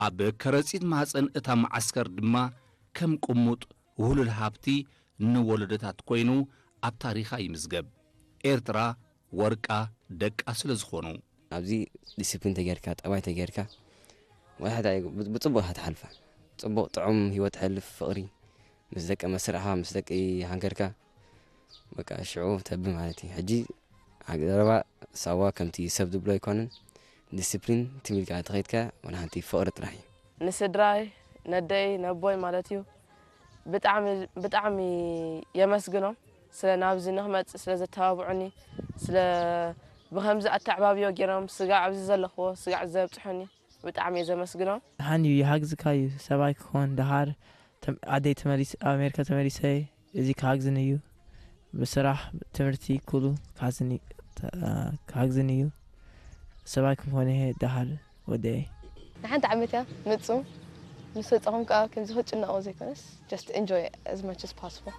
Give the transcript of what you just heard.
ኣብ ከረጺት ማህጸን እታ መዓስከር ድማ ከም ቅሙጥ ውህሉል ሃብቲ ንወለዶታት ኮይኑ ኣብ ታሪኻ ይምዝገብ። ኤርትራ ወርቃ ደቃ ስለ ዝኾኑ። ኣብዚ ዲስፕሊን ተጌርካ፣ ጠባይ ተጌርካ፣ ወላ ሕዳ ብጽቡቕ ኢኻ ትሓልፋ። ጽቡቕ ጥዑም ህይወት ትሕልፍ፣ ፍቕሪ ምስ ደቂ መስርዕኻ፣ ምስ ደቂ ሃገርካ፣ በቃ ሽዑ ተቢ ማለት እዩ። ሕጂ ሃገ-፣ ዘረባ ሳዋ ከምቲ ሰብ ዝብሎ ኣይኮነን። ዲስፕሊን ትም ኢልካ ተኸይድካ፣ ወላ ሓንቲ ፍቕሪ ጥራሕ እዩ። ንስድራይ፣ ነደይ፣ ነቦይ ማለት እዩ። ብጣዕሚ፣ ብጣዕሚ የመስግኖም ስለ ናብዚ ንኽመጽእ ስለ ዘተባብዑኒ፣ ስለ ብኸምዚ ኣተዕባብዮ ገይሮም ስጋዕ ኣብዚ ዘለኽዎ ስጋዕ ዘብጽሑኒ ብጣዕሚ እየ ዘመስግኖም። ደሓን እዩ፣ ይሃግዝካ እዩ። ሰብኣይ ክኾን ደሃር ተም-፣ ዓደይ ተመሊስ-፣ ኣብ ኣሜሪካ ተመሊሰ፣ እዚ ክሃግዝን እዩ። ብስራሕ፣ ትምህርቲ፣ ኩሉ ክሃዝኒ-፣ ተ-፣ ክሃግዝን እዩ። ሰብኣይ ክኾን እየ ደሃር ወደይ። ንሓንቲ ዓመት እያ ምጹ። ምስ ወጻኹም ከኣ ከምዚ ክትጭነቑ ዘይኮነስ፣ just enjoy as much as possible።